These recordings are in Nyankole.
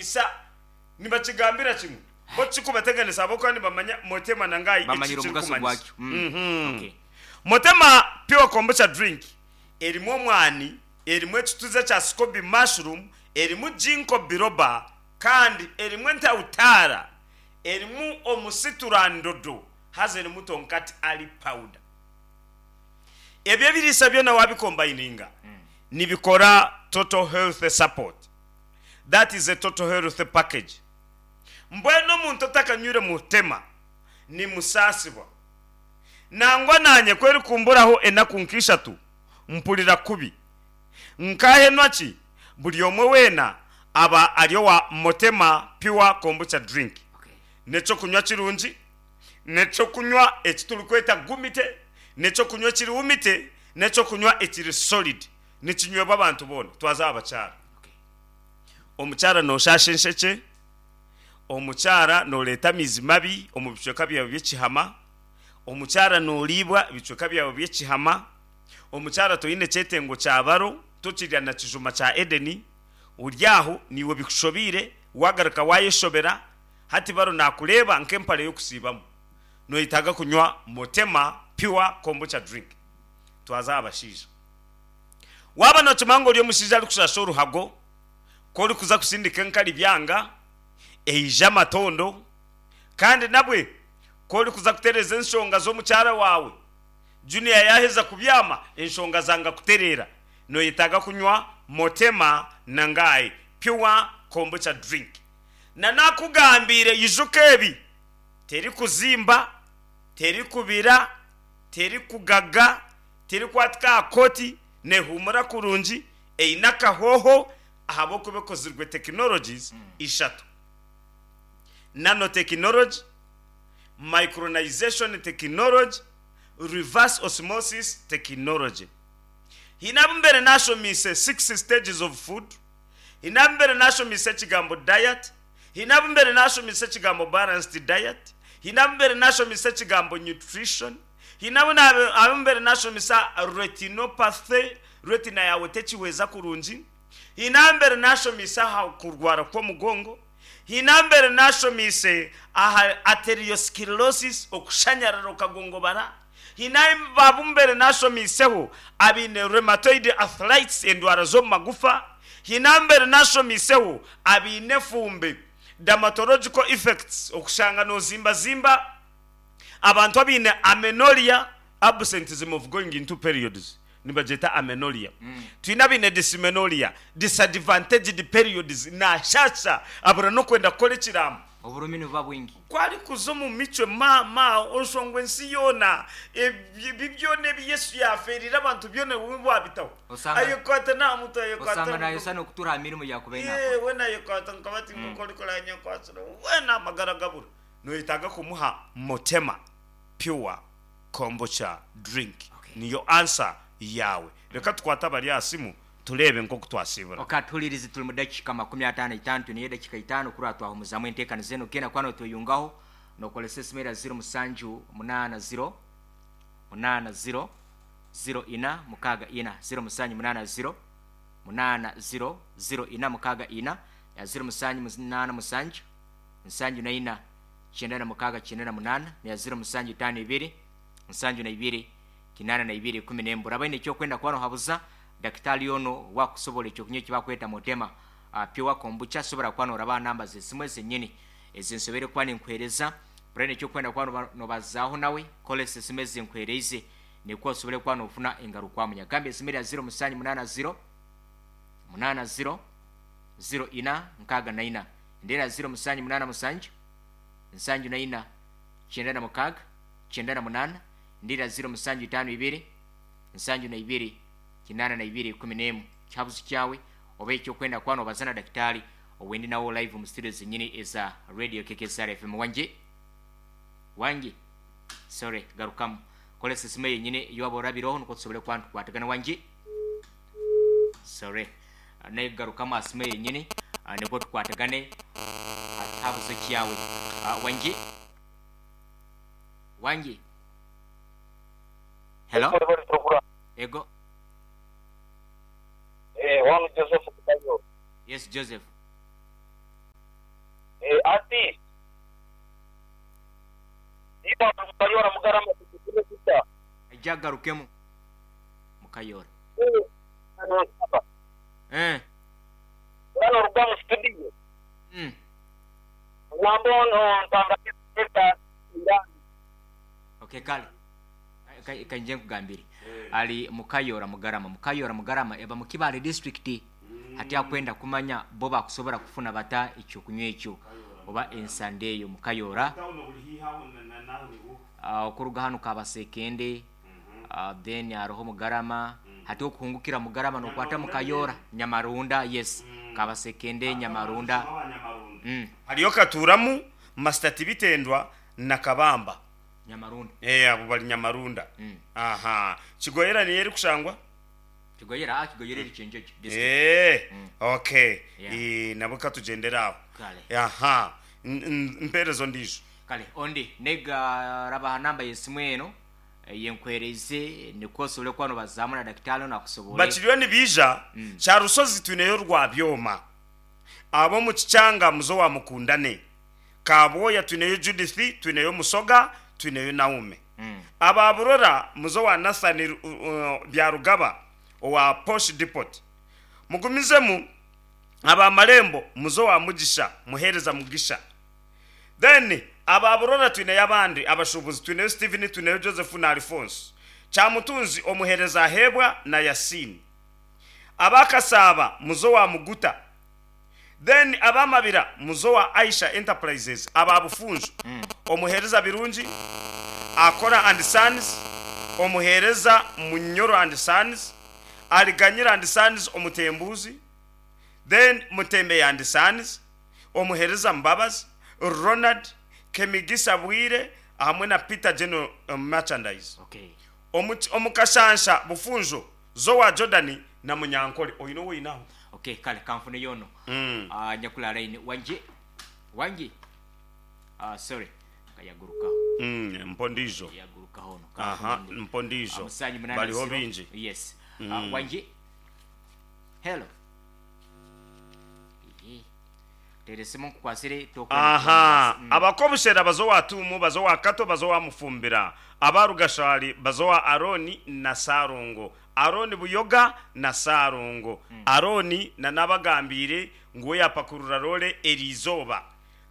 Isa nibakigambira kimwe bo tikikubateganisa ahabw'okuba nibamanya Motema na Ngai eki Bamanyire omugaso kirikumanyisa. gwakyo. Mm. Okay. Motema Pure Kombucha Drink erimu omwani, erimu ekituza kya scoby mushroom, erimu ginkgo biloba kandi erimu entautaara, erimu omusiturandodo haza erimu tonkat ali powder. Ebyo ebiriisa byona wabikombayininga nibikora total health support. That is a total health package. Mbwenu omuntu otakanywire mutema nimusaasibwa. Nangwa naanye ku erikumburaho enaku nk'ishatu mpurira kubi. Nkaahenwa ki buri omwe weena aba ari owa Motema Pure Kombucha Drink. N'eky'okunywa kirungi, n'eky'okunywa eki turikweta gumite, n'eky'okunywa ekiri wumite, n'eky'okunywa ekiri solid. Nikinywebwa abantu boona. Twaza aha bakyara. Omukyara nooshaasha enshekye, omukyara nooreeta amaizi mabi omu bicweka byawe by'ekihama, omukyara nooriibwa ebicweka byawe by'ekihama, omukyara toine kyetengo kya baro, tokirya na kijuma kya Edeni, ori aho naiwe bikushobeire, waagaruka waayeshobera, hati baro naakureeba nk'empare y'okusiibamu. Noyetaaga kunywa Motema Pure Kombucha Drink. Twaza aha bashaija. Waaba nookimanya ngu ori omushaija arikushasha oruhago, ku orikuza kusindika enkari byanga, eija amatondo, kandi nabwe ku orikuza kutereeza enshonga z'omukyara waawe, Junior yaaheza kubyama, enshonga zanga kutereera, noyetaaga kunywa Motema Nangai Pure Kombucha Drink. Na naakugambiire ijuka ebi, terikuzimba, terikubira, terikugaga, Terikwatika aha kooti, nehuumura kurungi, eine akahooho ahabw'okuba ekozirwe tekinologies ishatu, Nanotechnology, Micronization Technology, Reverse Osmosis Technology. Haine abu mbaire nashomiise six stages of food, haine abu mbaire nashomiise ekigambo diet, haine abu mbaire nashomiise ekigambo balanced diet, haine abu mbaire nashomiise ekigambo nutrition, Haine abu abu mbaire nashomesa retinopathy, retina yaawe tekihweza kurungi. Haine abu mbaire nashomiise aha kurwara kw'omugongo. Haine abu mbaire nashomiise aha arteriosclerosis, okushanyarara okagongobara. Haine abu mbaire nashomiiseho abaine rheumatoid arthritis, endwara z'omu magufa. Haine abu mbaire nashomiiseho abaine efumbi, dermatological effects, okushanga nozimbazimba. Abantu abaine amenorrhea, absenteeism of going into periods, nibagyeta amenorrhea. Twine abaine dysmenorrhea, disadvantaged periods, nashasha abura n'okwenda kukora ekiraamo. Oburumi nibuba bwingi. Ku arikuza omu micwe maama oshwa ngu ensi yoona, ebi byona ebi Yesu yaafeereire abantu byona iwe waabitaho. Osanga Ayekwata n'aha mutwe, ayekwata osanga aha naayosa mugongo. n'okutuura aha mirimo yaakubaire naakora. Yee, weena ayekwata nka bati nk'oku orikureeba nyekwatsire, weena amagara gabura. Noyetaaga kumuha Motema Pure Kombucha Drink niyo answer yaawe. Reka tukwate abari aha simu tureebe nk'oku twasiibura. Ok atuhuririze turi mu dakiika 55 twineyo edakiika itaano kurora twahumuzamu entekaniza enu genda kuba notweyungaho nokoresa esimu era ziro musanju munaana ziro munaana ziro ziro ina mukaaga ina ziro musanju munaana ziro munaana ziro ziro ina mukaaga ina ya ziro musanju munaana musanju nsanju na ina, 96, 98, neya ziro musanju itaano ibiri, nsanju na ibiri, 82, 11. Abaine eky'okwenda kuba nohabuza dakitaali onu owaakukusoborra ekyokunywa eki bakweta Motema Pure Kombucha, sobora kuba noraba aha namba z'esimu ezenyini ezi nsoboire kuba ninkuheereza. Oraine eky'okwenda kuba nobazaaho nawe, koresa esimu ezi nkuheereize nikwo osobole kuba nofuna engarukwamu. Nyagambye esimu erya ziro musanju munaana ziro, munaana ziro, ziro ina, nkaaga na ina. Ndeera ziro musanju munaana musanju, nsanju na ina, 96, 98, Ndeera ziro musanju itaano ibiri, nsanju na ibiri, 82, 11. Kihabuzi kyawe oba eky'okwenda kuba noobaza na dakitaali owendi nawe live omu studio zenyini eza Radio KKSR FM. Wangi? Wangi? Sorry, garukamu. Koresa esimu eyenyini ei waba orabireho nikwo tusobole kuba nitukwatagana. Wangi? Sorry. Naye garukamu aha simu eyenyini nikwo tukwatagane aha kihabuzo kyawe. Wangi? Wangi? Hello? Ego. Wanu Joseph Kubayo. Yes, Joseph. Mugarama tugizire tuta? Aije agarukemu. Mukayora. Eh. Bwana oruga mu studio. Ogamba ono mpanga Esther Irani. Okay kale. Kainje nkugambire. Ali Mukayora Mugarama. Mukayora Mugarama eba mu Kibaale district. Hati akwenda kumanya bo bakusobora kufuna bata ekyokunywa ekyo oba ensande eyo Mukayora. Okuruga hanu Kabasekende then hariho Mugarama. Hati okuhungukira Mugarama nokwata Mukayora Nyamarunda yes Kabasekende Nyamarunda. Hariyo Katuuramu, Master Tibitendwa na Kabamba. Nyamarunda. Eeh abo bari Nyamarunda. Ahaa. Kigoyera niyo erikushangwa? Kigoyera, aa Kigoyera eri Kyenjojo district. Eeh okay. Yeah. Eeh nabwo katugyendere aho. Kale. Ahaa. Mpeereza ondiijo. Kale ondi nega raba aha namba y'esimu eno eyenkuhereize nikwo osobole kuba nobazaamu na dakitaali onu akusobole. Bakiriyo nibaija, Kyarushozi twineyo Rwabyoma, ab'omu Kikyanga muze owa Mukundane, Kabwoya twineyo Judith, twineyo Musoga, twineyo Naume. Aba Burora muze owa Nathan Byarugaba owa Posh Depot. Mugumizemu aba Marembo muze owa Mugisha, Muhereza Mugisha. Then aba Burora twineyo abandi abashuubuzi, twineyo Steven, twineyo Joseph na Alphonse. Kyamutunzi Omuhereza Aheebwa na Yasin. Aba Kasaaba muze owa Muguta. Then aba Mabira muze owa Aisha Enterprises, aba Bufunjo Omuhereza Birungi, Akora and Sons, Omuhereza Munyoro and Sons, Aliganyira and Sons Omutembuuzi, Then Mutembeya and Sons, Omuhereza Mbabazi, Ronald, Kemigisa Bwire hamwe na Peter General Merchandise. Omu omu Kashansha, Bufunjo, Zowa Jordan na Munyankore. Oine ou oine aho? Okay, kale kanfuneyo ono anyakuli aha line. Wangi? Wangi? Ah, sorry. Yagurukaho. Mpa ondiijo. Yagurukaho ono. Aha, Kanfune ondi. mpa ondiijo. Musanju munaana Bariho ziro. baingi. Yes. Wangi? Hello. Ehe. Teera esimu nkukwasire tokwenda Aha, kuronda. abakobushera baza owa Tuumu, baza owa Kato, baza owa Mufumbira. Aba Rugashari baza owa Arooni na Saarongo. Arooni Buyoga na Saarongo. Arooni na n'abagambiire ngu we yaapakurura roore eri izooba.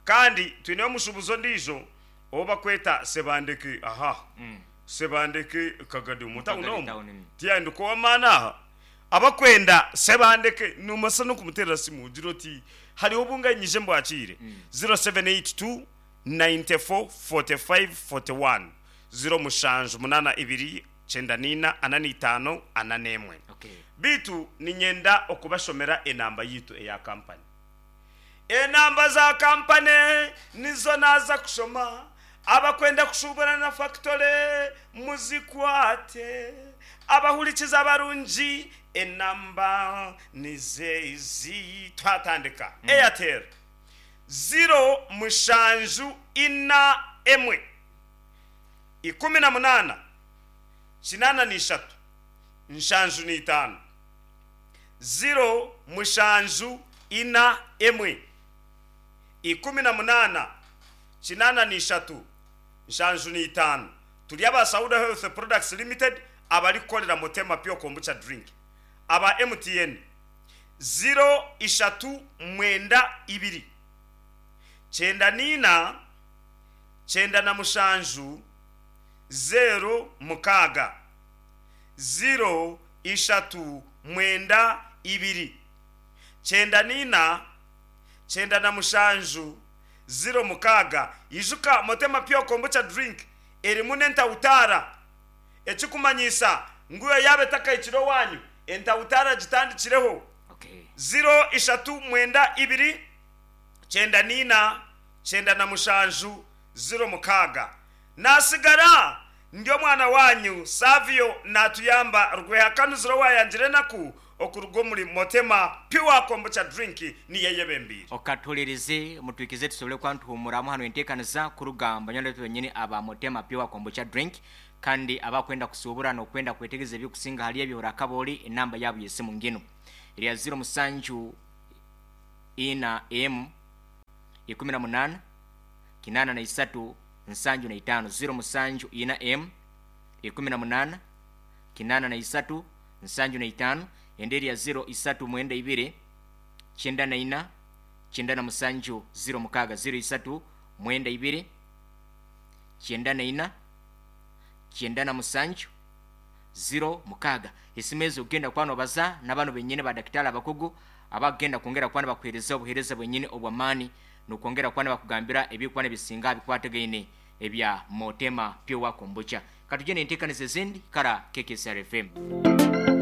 Kandi twineyo omushuubuzi ondiijo ou bakweta Sebandeke aha, Sebandeke Kagadi omu tawuni Kagadi omu. town, mm. Tiyahinduka ow'amaani aha. Abakwenda Sebandeke nobaasa n'okumuteerera simu ogire oti, Hariho obu nganyije mbwakiire, 0782 94 45 41, 0782 94 45 41. Beitu niinyenda okubashomera enamba yaitu eya kampani. Enamba za kampani nizo naaza kushoma. Abakwenda kushuubura na fakitore muzikwate. Abahurikiza abarungi enamba nizo ezi. Twatandika. Airtel, ziro mushanju ina emwe, 18, 83, 75. Ziro mushanju ina emwe, 18, 83, 75. Turi aba Sauda Health Products Limited abarikukorera Motema Pure Kombucha Drink. Aba MTN, ziro ishatu mwenda ibiri, 94, 97, zeero mukaaga. Ziro, ishatu, mwenda, ibiri, 94, 97, ziro, mukaaga. Ijuka, Motema Pure Kombucha Drink erimu n'entawutaara, ekirikumanyisa ngu yo yaaba etakahikire owaanyu, entawutaara gitandikireho. Ziro, ishatu, mwenda, ibiri, 94, 97, 06. Naatsigara ndi omwana waanyu Savio Naatuyamba Rwehakanuzire owaayangire enaku okuruga omuri Motema Pure Kombucha Drink niyo eyebembeire. Okatuhuririze mutwikize tusobole kuba nituhumuramu hanu enteekaniza kuruga omu banywani baitu benyini aba Motema Pure Kombucha Drink kandi abakwenda kusuubura n'okwenda kwetegereza ebirikusinga ahari ebyo orakaba ori enamba yaabo y'esimu nginu eri ya ziro musanju ina emu 18 83. 75 074 emu 18 83 75 endi erya 0392 94 97 06 0392 94 97 06. Esimu ezo kugenda kuba nobaza nabanu benyini ba dakitari abakugu abakugenda kwongera kuba nibakuhereza obuhereza bwenyini obw'amaani nokwongera kuba nibakugambira ebirikuba nibisinga aha bikwatagaine ebya Motema Pure Kombucha. Katugye n'enteekaniza ezindi kara KKCR FM.